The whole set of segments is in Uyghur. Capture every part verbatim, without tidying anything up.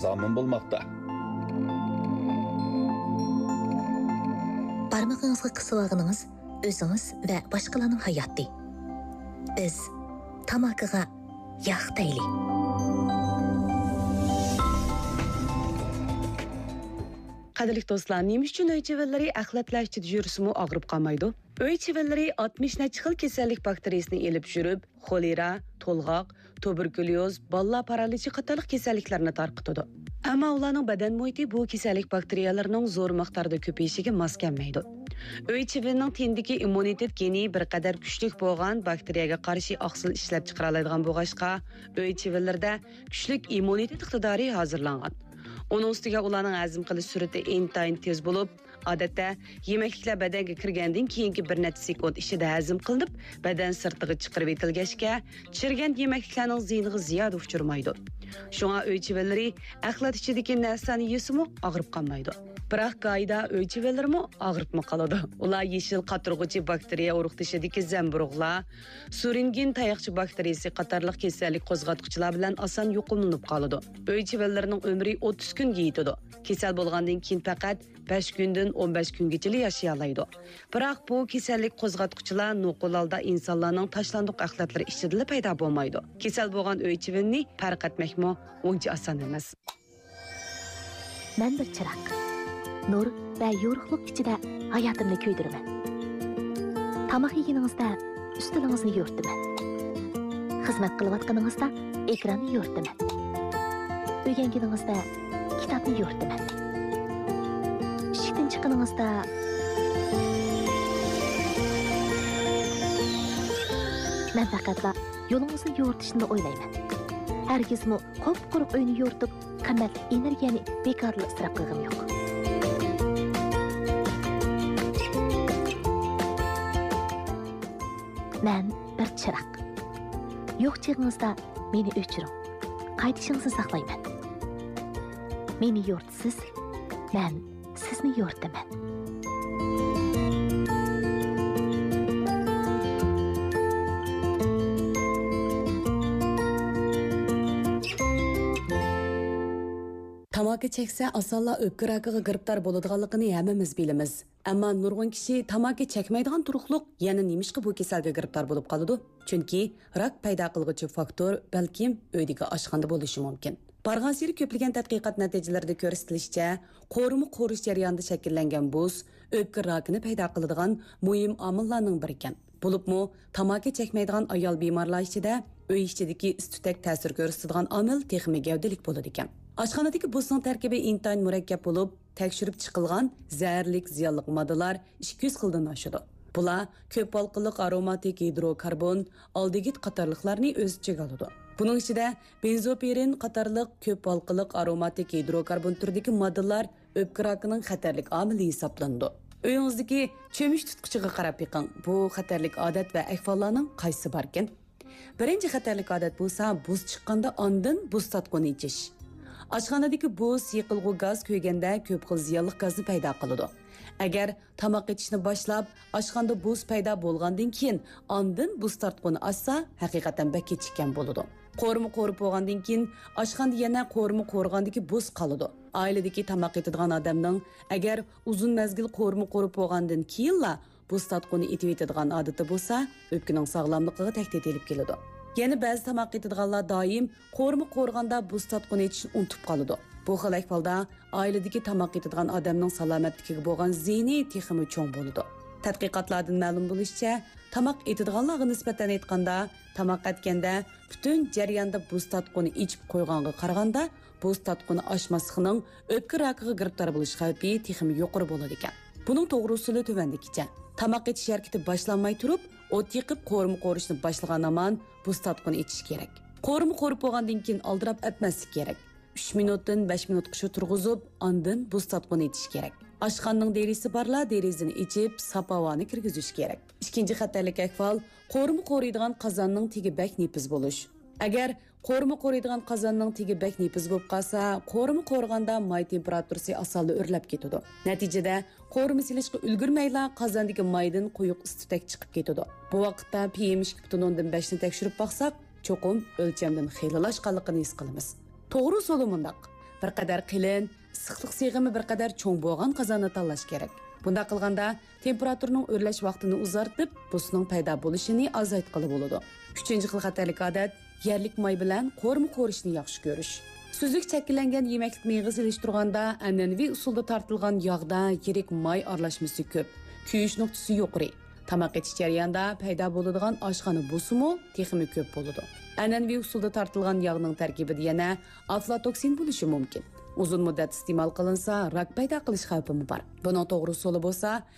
زامىن بولماقتا. بارمىقىڭىزغا قىسىۋالغىنىڭىز ئۆزىڭىز ۋە باشقىلارنىڭ ھاياتى. بىز تاماكىغا ياق دەيلى. قەدىرلىك دوستلار، نېمە ئۈچۈن ئۆي چىۋىنلىرى ئەخلەتلەر ئىچىدە يۈرسىمۇ ئاغرىپ قالمايدۇ؟ ئۆي چىۋىنلىرى ئاتمىش نەچچە خىل كېسەللىك باكتېرىيىسىنى ئېلىپ يۈرۈپ، خولېرا، تولغاق، تۇبېركۇليوز، بالىلار پارالىچى قاتارلىق كېسەللىكلەرنى تارقىتىدۇ. ئەمما ئۇلارنىڭ بەدەن مۇھىتى بۇ كېسەللىك باكتېرىيەلىرىنىڭ زور مىقداردا كۆپىيىشىگە ماس كەلمەيدۇ. ئۆي چىۋىنىنىڭ تېنىدىكى ئىممۇنىتېت گېنى بىر قەدەر كۈچلۈك بولغان باكتېرىيەگە قارشى ئاقسىل ئىشلەپچىقىرالايدىغان بولغاچقا، ئۆي چىۋىنلىرىدە كۈچلۈك ئىممۇنىتېت ئىقتىدارى ھازىرلانغان. ئۇنىڭ ئۈستىگە ئۇلارنىڭ ھەزىم قىلىش سۈرئىتى ئىنتايىن تېز بولۇپ، ئادەتتە يېمەكلىكلەر بەدەنگە كىرگەندىن كېيىنكى بىر نەچچە سېكۇنت ئىچىدە ھەزىم قىلىنىپ، بەدەن سىرتىغا چىقىرىۋېتىلگەچكە، چىرىگەن يېمەكلىكلەرنىڭ زىيىنىغا زىيادە ئۇچرىمايدۇ. شۇڭا ئۆي چىۋىنلىرى ئەخلەت ئىچىدىكى نەرسىلەرنى يېسىمۇ ئاغرىپ قالمايدۇ. بىراق گاھىدا ئۆي چىۋىنلىرىمۇ ئاغرىپمۇ قالىدۇ. ئۇلار يېشىل قاتۇرغۇچى باكتېرىيە ئۇرۇقدىشىدىكى زەمبۇرۇغلار، سۇرىنگېن تاياقچە باكتېرىيىسى قاتارلىق كېسەللىك قوزغاتقۇچىلار بىلەن ئاسان يۇقۇملىنىپ قالىدۇ. ئۆي چىۋىنلىرىنىڭ ئۆمرى ئوتتۇز كۈنگە يېتىدۇ. كېسەل بولغاندىن كېيىن پەقەت بەش كۈندىن ئون بەش كۈنگىچىلا ياشىيالايدۇ. بىراق بۇ كېسەللىك قوزغاتقۇچىلار نوقۇل ھالدا ئىنسانلارنىڭ تاشلاندۇق ئەخلەتلىرى ئىچىدىلا پەيدا بولمايدۇ. كېسەل بولغان ئۆي چىۋىنىنى پەرق ئەتمەكمۇ ئۇنچە ئاسان ئەمەس. مەن بىر چىراغ. نۇر ۋە يورۇقلۇق ئىچىدە ھاياتىمنى كۆيدۈرىمەن. تاماق يېگىنىڭىزدە ئۈستىلىڭىزنى يورۇتىمەن. خىزمەت قىلىۋاتقىنىڭىزدا ئېكراننى يورۇتىمەن. ئۆگەنگىنىڭىزدە كىتابنى يورۇتىمەن. ئىشىكتىن چىققىنىڭىزدا مەن پەقەتلا يولىڭىزنى يورۇتۇشنىلا ئويلايمەن. ھەرگىزمۇ قۇپقۇرۇق ئۆينى يورۇتۇپ، قىممەتلىك ئېنېرگىيەنى بىكارلا ئىسراپ قىلغىنىم يوق. مەن بىر چىراغ. يوق چېغىڭىزدا مېنى ئۆچۈرۈڭ. قايتىشىڭىزنى ساقلايمەن. مېنى يورۇتىسىز، مەن سىزنى يورۇتىمەن. تاماكا چەكسە، ئاسانلا ئۆپكە راكىغا گىرىپتار بولىدىغانلىقىنى ھەممىمىز بىلىمىز. ئەمما نۇرغۇن كىشى تاماكا چەكمەيدىغان تۇرۇقلۇق يەنە نېمىشقا بۇ كېسەلگە گىرىپتار بولۇپ قالىدۇ؟ چۈنكى راك پەيدا قىلغۇچى فاكتور بەلكىم ئۆيدىكى ئاشخانىدا بولۇشى مۇمكىن. بارغانسېرى كۆپلىگەن تەتقىقات نەتىجىلىرىدە كۆرسىتىلىشىچە، قورۇما قورۇش جەريانىدا شەكىللەنگەن بۇز ئۆپكە راكىنى پەيدا قىلىدىغان مۇھىم ئامىللارنىڭ بىرىكەن. بولۇپمۇ تاماكا چەكمەيدىغان ئايال بىمارلار ئىچىدە ئۆي ئىچىدىكى ئىس-تۈتەك تەسىر كۆرسىتىدىغان ئامىل تېخىمۇ گەۋدىلىك بولىدىكەن. ئاشخانىدىكى بۇزنىڭ تەركىبى ئىنتايىن مۇرەككەپ بولۇپ، تەكشۈرۈپ چىقىلغان زەھەرلىك زىيانلىق ماددىلار ئىككى يۈز خىلدىن ئاشىدۇ. بۇلار كۆپ ھالقىلىق ئاروماتىك گىدروكاربون، ئالدېگىد قاتارلىقلارنى ئۆز ئىچىگە ئالىدۇ. بۇنىڭ ئىچىدە بېنزوپىرىن قاتارلىق كۆپ ھالقىلىق ئاروماتىك گىدروكاربون تۈرىدىكى ماددىلار ئۆپكە راكىنىڭ خەتەرلىك ئامىلى ھېسابلىنىدۇ. ئۆيىڭىزدىكى چۆمۈچ تۇتقۇچىغا قاراپ بېقىڭ، بۇ خەتەرلىك ئادەت ۋە ئەھۋاللارنىڭ قايسىسى باركىن؟ بىرىنچى خەتەرلىك ئادەت بولسا بۇز چىققاندا ئاندىن بۇز تارتقۇنى ئېچىش. ئاشخانىدىكى بۇز سىقىلغۇ گاز كۆيگەندە كۆپ خىل زىيانلىق گازنى پەيدا قىلىدۇ. ئەگەر تاماق ئېتىشنى باشلاپ، ئاشخانىدا بۇز پەيدا بولغاندىن كېيىن ئاندىن بۇز تارتقۇنى ئاچسا، ھەقىقەتەن بەك كېچىككەن بولىدۇ. قورۇما قورۇپ بولغاندىن كېيىن ئاشخانىدا يەنە قورۇما قورۇغاندىكى بۇز قالىدۇ. ئائىلىدىكى تاماق ئېتىدىغان ئادەمنىڭ ئەگەر ئۇزۇن مەزگىل قورۇما قورۇپ بولغاندىن كېيىنلا بۇز تارتقۇنى ئېتىۋېتىدىغان ئادىتى بولسا، ئۆپكىنىڭ ساغلاملىقىغا تەھدىت ئېلىپ كېلىدۇ. يەنە بەزى تاماق ئېتىدىغانلار دائىم قورۇما قورۇغاندا بۇز تارتقۇنى ئېتىشنى ئۇنتۇپ قالىدۇ. بۇ خىل ئەھۋالدا ئائىلىدىكى تاماق ئېتىدىغان ئادەمنىڭ سالامەتلىكىگە بولغان زىيىنى تېخىمۇ چوڭ بولىدۇ. تەتقىقاتلاردىن مەلۇم بولۇشىچە، تاماق ئېتىدىغانلارغا نىسبەتەن ئېيتقاندا، تاماق ئەتكەندە پۈتۈن جەرياندا بۇز تارتقۇنى ئېچىپ قويغانغا قارىغاندا، بۇز تارتقۇنى ئاچماسلىقنىڭ ئۆپكە راكىغا گىرىپتار بولۇش خەۋپى تېخىمۇ يۇقىرى بولىدىكەن. بۇنىڭ توغرا ئۇسۇلى تۆۋەندىكىچە. تاماق ئېتىش ھەرىكىتى باشلانماي تۇرۇپ، ئوت يېقىپ قورۇما قورۇشنى باشلىغان ھامان بۇز تارتقۇنى ئېچىش كېرەك. قورۇما قورۇپ بولغاندىن كېيىن ئالدىراپ ئەتمەسلىك كېرەك. ئۈچ مىنۇتتىن بەش مىنۇتقىچە تۇرغۇزۇپ، ئاندىن بۇز تارتقۇنى ئېچىش كېرەك. ئاشخانىنىڭ دېرىزىسى بارلار دېرىزىنى ئېچىپ، ساپ ھاۋانى كىرگۈزۈش كېرەك. ئىككىنچى خەتەرلىك ئەھۋال، قورۇما قورۇيدىغان قازاننىڭ تېگى بەك نېپىز بولۇش. ئەگەر قورۇما قورۇيدىغان قازاننىڭ تېگى بەك نېپىز بولۇپ قالسا، قورۇما قورۇغاندا ماي تېمپېراتۇرىسى ئاسانلا ئۆرلەپ كېتىدۇ. نەتىجىدە، قورۇما سېلىشقا ئۈلگۈرمەيلا، قازاندىكى مايدىن قويۇق ئىس-تۈتەك چىقىپ كېتىدۇ. بۇ ۋاقىتتا پ م ئىككى پۈتۈن ئوندىن بەشنى تەكشۈرۈپ باقساق، چوقۇم ئۆلچەمدىن خېلىلا ئاشقانلىقىنى ھېس قىلىمىز. توغرا ئۇسۇلى مۇنداق. بىر قەدەر قېلىن، ئىسسىقلىق سىغىمى بىر قەدەر چوڭ بولغان قازاننى تاللاش كېرەك. بۇنداق قىلغاندا، تېمپېراتۇرىنىڭ ئۆرلەش ۋاقتىنى ئۇزارتىپ، بۇسنىڭ پەيدا بولۇشىنى ئازايتقىلى بولىدۇ. ئۈچىنچى خىل خەتەرلىك ئادەت، يەرلىك ماي بىلەن قورۇما قورۇشنى ياخشى كۆرۈش. سۈزۈك چەككىلەنگەن يېمەكلىك مېيىغا سېلىشتۇرغاندا، ئەنئەنىۋى ئۇسۇلدا تارتىلغان ياغدا يىرىك ماي ئارىلاشمىسى كۆپ، كۆيۈش نۇقتىسى يۇقىرى. تاماق ئېتىش جەريانىدا پەيدا بولىدىغان ئاشخانا بۇسىمۇ تېخىمۇ كۆپ بولىدۇ. ئەنئەنىۋى ئۇسۇلدا تارتىلغان ياغنىڭ تەركىبىدە يەنە ئافلاتوكسىن بولۇشى مۇمكىن. ئۇزۇن مۇددەت ئىستېمال قىلىنسا، راك پەيدا قىلىش خەۋپىمۇ بار. بۇنىڭ توغرا ئۇسۇلى بولسا،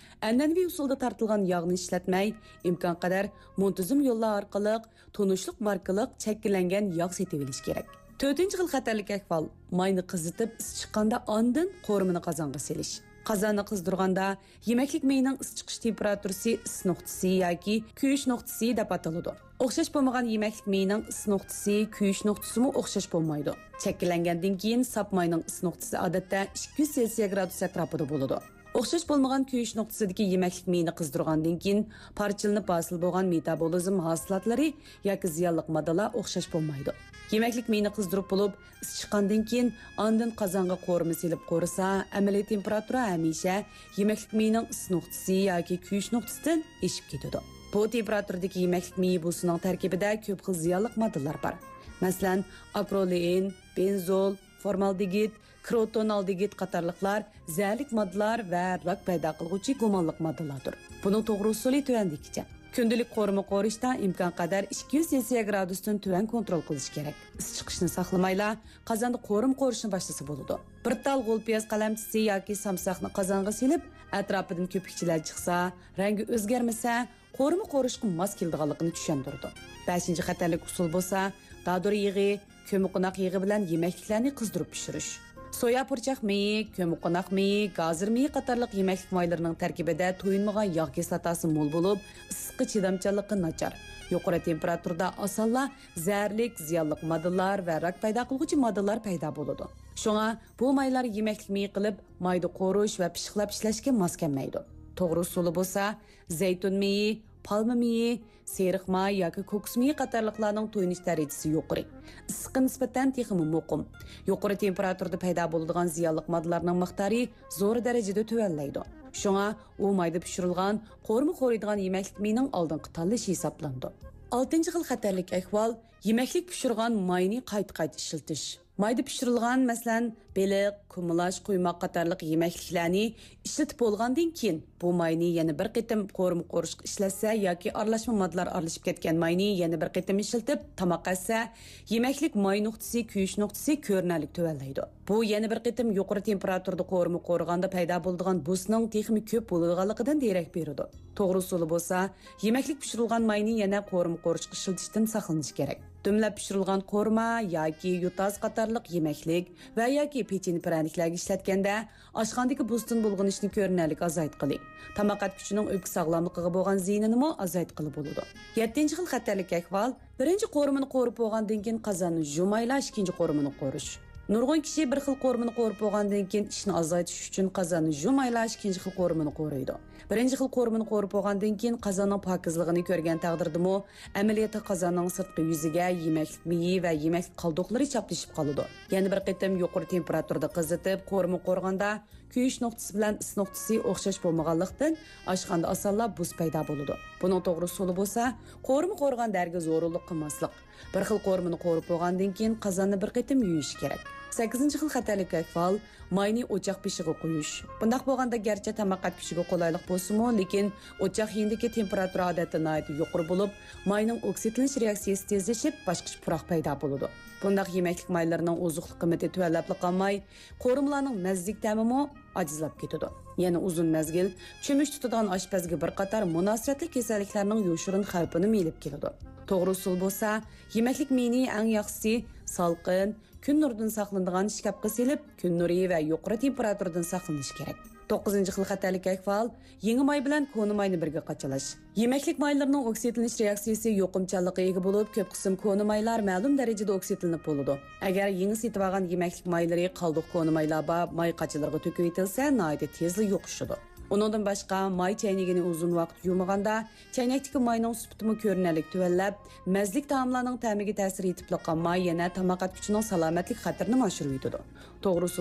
ئەنئەنىۋى ئۇسۇلدا تارتىلغان ياغنى ئىشلەتمەي، ئىمكان قەدەر مۇنتىزىم يوللار ئارقىلىق تونۇشلۇق ماركىلىق چەككىلەنگەن ياغ سېتىۋېلىش كېرەك. تۆتىنچى خىل خەتەرلىك ئەھۋال، ماينى قىزىتىپ، ئىسسىپ چىققاندا ئاندىن قورۇمىنى قازانغا سېلىش. قازاننى قىزدۇرغاندا، يېمەكلىك مېيىنىڭ ئىسسىپ چىقىش تېمپېراتۇرىسى ئىسسىپ نۇقتىسى ياكى كۆيۈش نۇقتىسى دەپ ئاتىلىدۇ. ئوخشاش بولمىغان يېمەكلىك مېيىنىڭ ئىسسىپ نۇقتىسى، كۆيۈش نۇقتىسىمۇ ئوخشاش بولمايدۇ. چەككىلەنگەندىن كېيىن ساپ ماينىڭ ئىسسىپ نۇقتىسى ئادەتتە ئىككى يۈز سېلسىيە گرادۇس ئەتراپىدا بولىدۇ. ئوخشاش بولمىغان كۆيۈش نۇقتىسىدىكى يېمەكلىك مېيىنى قىزدۇرغاندىن كېيىن، پارچىلىنىپ ھاسىل بولغان مېتابولىزم ھاسىلاتلىرى ياكى زىيانلىق ماددىلار ئوخشاش بولمايدۇ. يېمەكلىك مېيىنى قىزدۇرۇپ بولۇپ، ئىسسىپ چىققاندىن كېيىن، ئاندىن قازانغا قورۇما سېلىپ قورۇسا، ئەمەلىي تېمپېراتۇرا ھەمىشە يېمەكلىك مېيىنىڭ ئىسسىپ نۇقتىسى ياكى كۆيۈش نۇقتىسىدىن ئېشىپ كېتىدۇ. بۇ تېمپېراتۇرىدىكى يېمەكلىك مېيى بۇسىنىڭ تەركىبىدە كۆپ خىل زىيانلىق ماددىلار بار. مەسىلەن، ئاكرولېئىن، بېنزول، فورمالدېگىد، كروتونالدېگىد قاتارلىقلار زەھەرلىك ماددىلار ۋە راك پەيدا قىلغۇچى گۇمانلىق ماددىلاردۇر. بۇنىڭ توغرا ئۇسۇلى تۆۋەندىكىچە. كۈندىلىك قورۇما قورۇشتا ئىمكان قەدەر ئىككى يۈز سېلسىيە گرادۇستىن تۆۋەن كونترول قىلىش كېرەك. ئىسسىپ چىقىشنى ساقلىمايلا، قازاندا قورۇما قورۇشنى باشلىسا بولىدۇ. بىر تال غول پىياز قەلەمچىسى ياكى سامساقنى قازانغا سېلىپ، ئەتراپىدىن كۆپۈكچىلەر چىقسا، رەڭگى ئۆزگەرمىسە، قورۇما قورۇشقا ماس كېلىدىغانلىقىنى چۈشەندۈرىدۇ. بەشىنچى خەتەرلىك ئۇسۇل بولسا، دادۇر يېغى، كۆممىقوناق يېغى بىلەن يېمەكلىكلەرنى قىزدۇرۇپ پىشۇرۇش. سويا پۇرچاق مېيى، كۆممىقوناق مېيى، گازىر مېيى قاتارلىق يېمەكلىك مايلىرىنىڭ تەركىبىدە تويۇنمىغان ياغ كىسلاتاسى مول بولۇپ، ئىسسىققا چىدامچانلىقى ناچار، يۇقىرى تېمپېراتۇرىدا ئاسانلا زەھەرلىك، زىيانلىق ماددىلار ۋە راك پەيدا قىلغۇچى ماددىلار پەيدا بولىدۇ. شۇڭا بۇ مايلار يېمەكلىك مېيى قىلىپ، مايدا قورۇش ۋە پىششىقلاپ ئىشلەشكە ماس كەلمەيدۇ. توغرا ئۇسۇلى بولسا، زەيتۇن مېيى، پالما مېيى، سېرىق ماي ياكى كوكۇس مېيى قاتارلىقلارنىڭ تويۇنۇش دەرىجىسى يۇقىرى، ئىسسىققا نىسبەتەن تېخىمۇ مۇقىم، يۇقىرى تېمپېراتۇرىدا پەيدا بولىدىغان زىيانلىق ماددىلارنىڭ مىقدارى زور دەرىجىدە تۆۋەنلەيدۇ. شۇڭا ئۇ مايدا پىشۇرۇلغان، قورۇما قورۇيدىغان يېمەكلىك مېيىنىڭ ئالدىنقى تاللىشى ھېسابلىنىدۇ. ئالتىنچى خىل خەتەرلىك ئەھۋال، يېمەكلىك پىشۇرغان ماينى قايتا-قايتا ئىشلىتىش. مايدا پىشۇرۇلغان، مەسىلەن، بېلىق، كۇمىلاچ، قۇيماق قاتارلىق يېمەكلىكلەرنى ئىشلىتىپ بولغاندىن كېيىن، بۇ ماينى يەنە بىر قېتىم قورۇما قورۇشقا ئىشلەتسە ياكى ئارىلاشما ماددىلار ئارىلىشىپ كەتكەن ماينى يەنە بىر قېتىم ئىشلىتىپ تاماق ئەتسە، يېمەكلىك ماي نۇقتىسى، كۆيۈش نۇقتىسى كۆرۈنەرلىك تۆۋەنلەيدۇ. بۇ يەنە بىر قېتىم يۇقىرى تېمپېراتۇرىدا قورۇما قورۇغاندا پەيدا بولىدىغان بۇسنىڭ تېخىمۇ كۆپ بولىدىغانلىقىدىن دېرەك بېرىدۇ. توغرا ئۇسۇلى بولسا، يېمەكلىك پىشۇرۇلغان ماينى يەنە قورۇما قورۇشقا ئىشلىتىشتىن ساقلىنىش كېرەك. دۈملەپ پىشۇرۇلغان قورۇما ياكى يوتاز قاتارلىق يېمەكلىك ۋە ياكى پېچىنە پىرەنىكلەرگە ئىشلەتكەندە، ئاشخانىدىكى بۇستىن بۇلغىنىشنى كۆرۈنەرلىك ئازايتقىلى، تاماق ئەتكۈچىنىڭ ئۆپكە ساغلاملىقىغا بولغان زىيىنىنىمۇ ئازايتقىلى بولىدۇ. يەتتىنچى خىل خەتەرلىك ئەھۋال، بىرىنچى قورۇمىنى قورۇپ بولغاندىن كېيىن قازاننى يۇمايلا ئىككىنچى قورۇمىنى قورۇش. نۇرغۇن كىشى بىر خىل قورۇمىنى قورۇپ بولغاندىن كېيىن ئىشنى ئازايتىش ئۈچۈن قازاننى يۇمايلا ئىككىنچى خىل قورۇمىنى قورۇيدۇ. بىرىنچى خىل قورۇمىنى قورۇپ بولغاندىن كېيىن قازاننىڭ پاكىزلىقىنى كۆرگەن تەقدىردىمۇ، ئەمەلىيەتتە قازاننىڭ سىرتقى يۈزىگە يېمەكلىك مېيى ۋە يېمەكلىك قالدۇقلىرى چاپلىشىپ قالىدۇ. يەنە بىر قېتىم يۇقىرى تېمپېراتۇرىدا قىزىتىپ، قورۇما قورۇغاندا، كۆيۈش نۇقتىسى بىلەن ئىسسىش نۇقتىسى ئوخشاش بولمىغانلىقتىن، ئاشخانىدا ئاسانلا بۇس پەيدا بولىدۇ. بۇنىڭ توغرا ئۇسۇلى بولسا، قورۇما قورۇغان دەرىگە زورۇنلۇق قىلماسلىق. بىر خىل قورۇمىنى قورۇپ بولغاندىن كېيىن قازاننى بىر قېتىم يۇيۇش كېرەك. سەككىزىنچى خىل خەتەرلىك ئەھۋال، ماينى ئوچاق بېشىغا قويۇش. بۇنداق بولغاندا گەرچە تاماق ئەتكۈچىگە قولايلىق بولسىمۇ، لېكىن ئوچاق يېنىدىكى تېمپېراتۇرا ئادەتتە ناھايىتى يۇقىرى بولۇپ، ماينىڭ ئوكسىدلىنىش رېئاكسىيىسى تېزلىشىپ، باشقىچە پۇراق پەيدا بولىدۇ. بۇنداق يېمەكلىك مايلىرىنىڭ ئوزۇقلۇق قىممىتى تۆۋەنلەپلا قالماي، قورۇمىلارنىڭ مەززىلىك تەمىمۇ ئاجىزلاپ كېتىدۇ. يەنە ئۇزۇن مەزگىل چۆمۈچ تۇتىدىغان ئاشپەزگە بىر قاتار مۇناسىۋەتلىك كېسەللىكلەرنىڭ يوشۇرۇن خەۋپىنىمۇ ئېلىپ كېلىدۇ. توغرا ئۇسۇل بولسا، يېمەكلىك مېيىنى ئەڭ ياخشىسى سالقىن، كۈن نۇرىدىن ساقلىنىدىغان ئىشكاپقا سېلىپ، كۈن نۇرى ۋە يۇقىرى تېمپېراتۇرىدىن ساقلىنىش كېرەك. توققۇزىنچى خىل خەتەرلىك ئەھۋال، يېڭى ماي بىلەن كونا ماينى بىرگە قاچىلاش. يېمەكلىك مايلىرىنىڭ ئوكسىدلىنىش رېئاكسىيىسى يۇقۇمچانلىققا ئىگە بولۇپ، كۆپ قىسىم كونا مايلار مەلۇم دەرىجىدە ئوكسىدلىنىپ بولىدۇ. ئەگەر يېڭى سېتىۋالغان يېمەكلىك مايلىرى قالدۇق كونا مايلار بار ماي قاچىلىرىغا تۆكۈۋېتىلسە، ناھايىتى تېزلا يۇقۇشىدۇ. ئۇنىڭدىن باشقا، ماي چەينىگىنى ئۇزۇن ۋاقىت يۇمىغاندا، چەينەكتىكى ماينىڭ سۈپىتىمۇ كۆرۈنەرلىك تۆۋەنلەپ، مەززىلىك تائاملارنىڭ تەمىگە تەسىر يېتىپ قالغان ماي يەنە تاماق ئەتكۈچىنىڭ سالامەتلىك خەتىرىنىمۇ ئاشۇرۇۋېتىدۇ. توغرىسى،